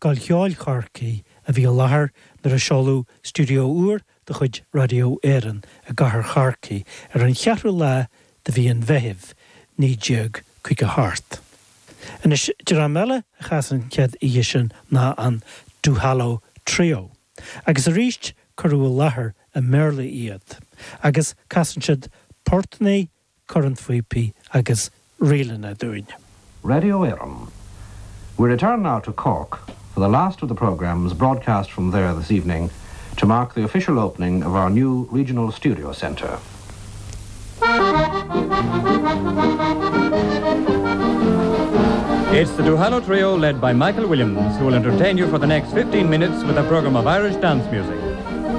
Scoil Cheoil Chorcaí a bhí i láthair nuair a seoladh stiúideo úr de chuid Radio Éireann i gcathair Chorcaí ar an cheathrú lá de mhí an Mheithimh, 1958. Anois, dream eile a chas an chéad oíche sin ná an Duhallow Trio. Agus arís cuireadh i láthair i mBéarla iad. Agus casann siad portannaí, cornphíopaí agus ríleanna dúinn. Radio Éireann. We return now to Cork for the last of the programmes broadcast from there this evening to mark the official opening of our new regional studio centre. It's the Duhallow Trio led by Michael Williams who will entertain you for the next 15 minutes with a program of Irish dance music.